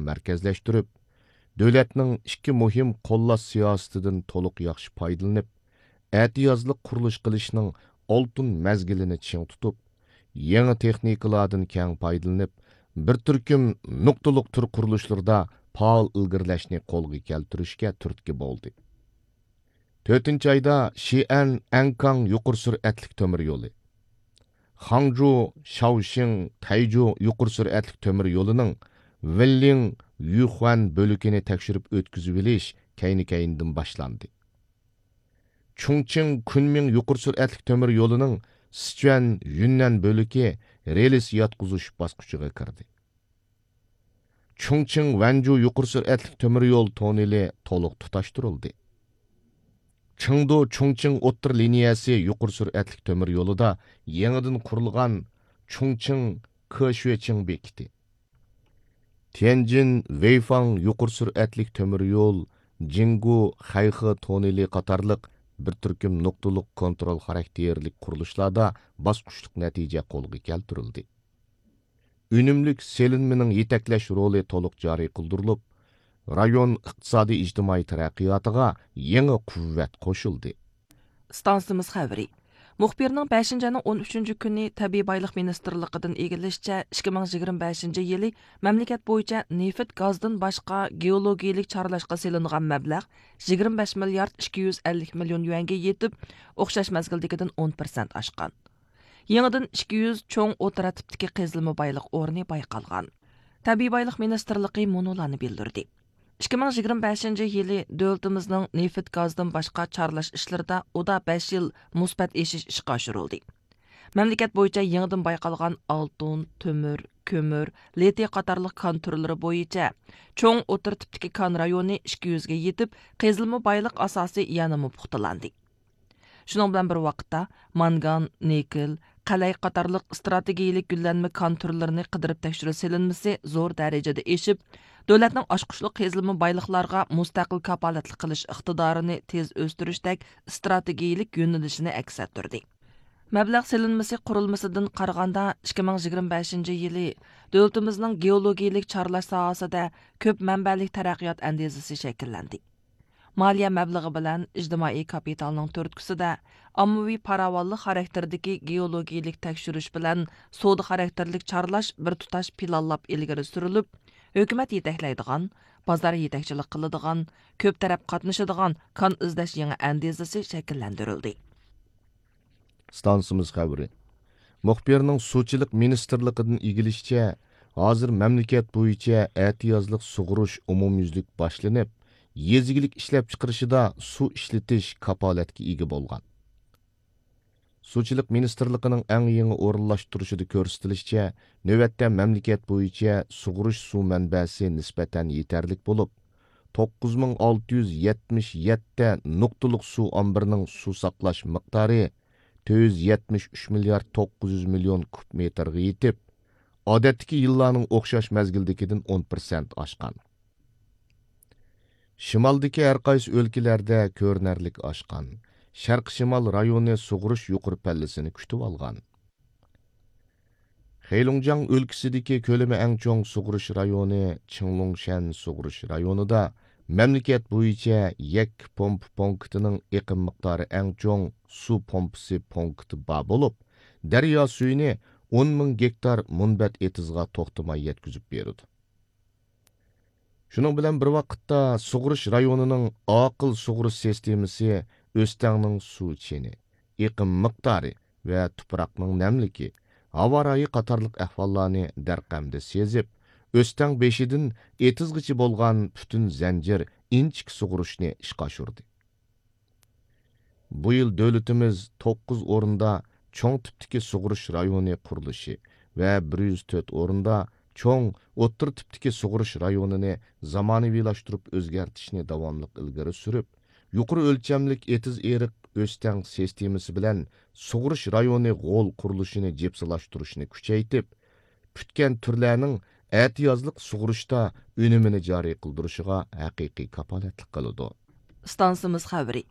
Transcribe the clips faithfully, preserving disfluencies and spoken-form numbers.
مەركەزلەشتۈرۈپ، دۆلەتنىڭ ئىككى مۇھىم قوللاش سىياسىتىدىن تولۇق ياخشى پايدىلىنىپ، ئەتىيازلىق قۇرۇلۇش قىلىشنىڭ ئالتۇن مەزگىلىنى چىڭ تۇتۇپ، يېڭى تېخنىكىلاردىن كەڭ پايدىلىنىپ، بىر تۈركۈم نۇقتىلىق تۈر قۇرۇلۇشلىرىدا پائال ئىلگىرىلەشنى قولغا كەلتۈرۈشكە تۈرتكە بولدى. تۆتىنچى ئايدا شىئەن ئەنكاڭ يۇقىرى سۈرئەتلىك تۆمۈر يولى، خاڭجۇ شاۋشىڭ تەيجۇ يۇقىرى سۈرئەتلىك تۆمۈر يولىنىڭ ۋېنلىڭ يۈخۈەن بۆلىكىنى تەكشۈرۈپ ئۆتكۈزۈۋېلىش كەينى-كەينىدىن باشلاندى. چۇڭچىڭ كۈنمىڭ يۇقىرى سۈرئەتلىك تۆمۈر يولىنىڭ سىچۈەن يۈننەن بۆلىكى رېلىس ياتقۇزۇش باسقۇچىغا كىردى. چۇڭچىڭ ۋەنجۇ يۇقىرى سۈرئەتلىك تۆمۈر يول توننېلى تولۇق تۇتاشتۇرۇلدى. چېڭدۇ چۇڭچىڭ ئوتتۇرا لىنىيەسى يۇقىرى سۈرئەتلىك تۆمۈر يولىدا يېڭىدىن قۇرۇلغان چۇڭچىڭ كېشۈەچىڭ بېكىتى، تيەنجىن ۋېيفاڭ يۇقىرى سۈرئەتلىك تۆمۈر يول، جىڭگۇ خەيخې توننېلى قاتارلىق بىر تۈركۈم نۇقتىلىق كونترول خاراكتېرلىك قۇرۇلۇشلاردا باسقۇچلۇق نەتىجە قولغا كەلتۈرۈلدى. ئۈنۈملۈك سېلىنمىنىڭ يېتەكلەش رولى تولۇق جارى قىلدۇرۇلۇپ، رايون ئىقتىسادىي ئىجتىمائىي تەرەققىياتىغا يېڭى قۇۋۋەت قوشۇلدى. ئىستانسىمىز خەۋىرى. مۇخبىرنىڭ بەشىنچى ئاينىڭ ئون ئۈچىنچى كۈنى تەبىئىي بايلىق مىنىستىرلىقىدىن ئىگىلىشىچە، ئىككى مىڭ يىگىرمە بەشىنچى يىلى مەملىكەت بويىچە نېفىت، گازدىن باشقا گېئولوگىيىلىك چارلاشقا سېلىنغان مەبلەغ يىگىرمە بەش مىليارد ئىككى يۈز ئەللىك مىليون يۈەنگە يېتىپ، ئوخشاش مەزگىلدىكىدىن ئون پىرسەنت ئاشقان. يېڭىدىن ئىككى يۈز چوڭ ئوتتۇرا تىپتىكى قېزىلما بايلىق ئورنى بايقالغان. تەبىئىي بايلىق مىنىستىرلىقى مۇنۇلارنى بىلدۈردى. ئىككى مىڭ يىگىرمە بەشىنچى يىلى دۆلىتىمىزنىڭ نېفىت، گازدىن باشقا چارلاش ئىشلىرىدا ئۇدا بەش يىل مۇسبەت ئېشىش ئىشقا ئاشۇرۇلدى. مەملىكەت بويىچە يېڭىدىن بايقالغان ئالتۇن، تۆمۈر، كۆمۈر، لىتىي قاتارلىق كان تۈرلىرى بويىچە چوڭ ئوتتۇرا تىپتىكى كان رايونى ئىككى يۈزگە يېتىپ، قېزىلما بايلىق ئاساسى يەنىمۇ پۇختىلاندى. شۇنىڭ بىلەن بىر ۋاقىتتا، مانگان، نىكېل، قەلەي قاتارلىق ئىستراتېگىيىلىك گۈللەنمە كان تۈرلىرىنى قىدىرىپ تەكشۈرۈش سېلىنمىسى زور دەرىجىدە ئېشىپ، دۆلەتنىڭ ئاچقۇچلۇق قېزىلما بايلىقلارغا مۇستەقىل كاپالەتلىك قىلىش ئىقتىدارىنى تېز ئۆستۈرۈشتەك ئىستراتېگىيىلىك يۆنىلىشىنى ئەكس ئەتتۈردى. مەبلەغ سېلىنمىسى قۇرۇلمىسىدىن قارىغاندا، ئىككى مىڭ يىگىرمە بەشىنچى يىلى دۆلىتىمىزنىڭ گېئولوگىيىلىك چارلاش ساھەسىدە كۆپ مەنبەلىك تەرەققىيات ئەندىزىسى شەكىللەندى. مالىيە مەبلىغى بىلەن ئىجتىمائىي كاپىتالنىڭ تۈرتكىسىدە ئاممىۋى پاراۋانلىق خاراكتېرىدىكى گېئولوگىيىلىك تەكشۈرۈش بىلەن سودا خاراكتېرلىك چارلاش بىر تۇتاش پىلانلاپ ئىلگىرى سۈرۈلۈپ، ھۆكۈمەت يېتەكلەيدىغان، بازار يېتەكچىلىك قىلىدىغان، كۆپ تەرەپ قاتنىشىدىغان كان ئىزدەش يېڭى ئەندىزىسى شەكىللەندۈرۈلدى. ئىستانسىمىز خەۋىرى. مۇخبىرنىڭ سۇچىلىق مىنىستىرلىقىدىن ئىگىلىشىچە، ھازىر مەملىكەت بويىچە ئەتىيازلىق سۇغۇرۇش ئومۇميۈزلۈك باشلىنىپ، يېزا ئىگىلىك ئىشلەپچىقىرىشىدا سۇ ئىشلىتىش كاپالەتكە ئىگە بولغان. سۇچىلىق مىنىستىرلىقىنىڭ ئەڭ يېڭى ئورۇنلاشتۇرۇشىدا كۆرسىتىلىشىچە، نۆۋەتتە مەملىكەت بويىچە سۇغۇرۇش سۇ مەنبەسى نىسبەتەن يېتەرلىك بولۇپ، توققۇز مىڭ ئالتە يۈز يەتمىش يەتتە نۇقتىلىق سۇ ئامبىرىنىڭ سۇ ساقلاش مىقدارى تۆت يۈز يەتمىش ئۈچ مىليارد توققۇز يۈز مىليون كۇب مېتىرغا يېتىپ، ئادەتتىكى يىللارنىڭ ئوخشاش مەزگىلدىكىدىن ئون پىرسەنت ئاشقان. شىمالدىكى ھەر قايسى ئۆلكىلەردە كۆرۈنەرلىك ئاشقان. شەرقىي شىمال رايونى سۇغۇرۇش يۇقىرى پەللىسىنى كۈتۈۋالغان. خېلۇڭجياڭ ئۆلكىسىدىكى كۆلىمى ئەڭ چوڭ سۇغۇرۇش رايونى چىڭلۇڭشەن سۇغۇرۇش رايونىدا مەملىكەت بويىچە يەككە پومپا پونكىتىنىڭ ئېقىم مىقدارى ئەڭ چوڭ سۇ پومپىسى پونكىتى بار بولۇپ، دەريا سۈيىنى ئون مىڭ گېكتار مۇنبەت ئېتىزغا توختىماي يەتكۈزۈپ بېرىدۇ. شۇنىڭ بىلەن بىر ۋاقىتتا، سۇغۇرۇش رايونىنىڭ ئاقىل سۇغۇرۇش سىستېمىسى ئۆستەڭنىڭ سۇ چېنى، ئېقىم مىقدارى ۋە تۇپراقنىڭ نەملىكى، ھاۋا رايى قاتارلىق ئەھۋاللارنى دەرقەمدە سېزىپ، ئۆستەڭ بېشىدىن ئېتىزغىچە بولغان پۈتۈن زەنجىر ئىنچىكە سۇغۇرۇشنى ئىشقا ئاشۇردى. بۇ يىل دۆلىتىمىز توققۇز ئورۇندا چوڭ تىپتىكى سۇغۇرۇش رايونى قۇرۇلۇشى ۋە بىر يۈز تۆت ئورۇندا چوڭ ئوتتۇرا تىپتىكى سۇغۇرۇش رايونىنى زامانىۋىلاشتۇرۇپ ئۆزگەرتىشنى داۋاملىق ئىلگىرى سۈرۈپ، يۇقىرى ئۆلچەملىك ئېتىز ئېرىق ئۆستەڭ سىستېمىسى بىلەن سۇغۇرۇش رايونى غول قۇرۇلۇشىنى جىپسىلاشتۇرۇشنى كۈچەيتىپ، پۈتكەن تۈرلەرنىڭ ئەتىيازلىق سۇغۇرۇشتا ئۈنۈمىنى جارى قىلدۇرۇشىغا ھەقىقىي كاپالەتلىك قىلىدۇ. ئىستانسىمىز خەۋىرى.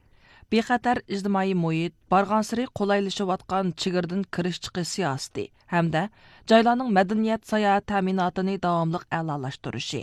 بىخەتەر ئىجتىمائىي مۇھىت، بارغانسېرى قولايلىشىۋاتقان چېگرىدىن كىرىش چىقىش سىياسىتى ھەمدە جايلارنىڭ مەدەنىيەت ساياھەت تەمىناتىنى داۋاملىق ئەلالاشتۇرۇشى،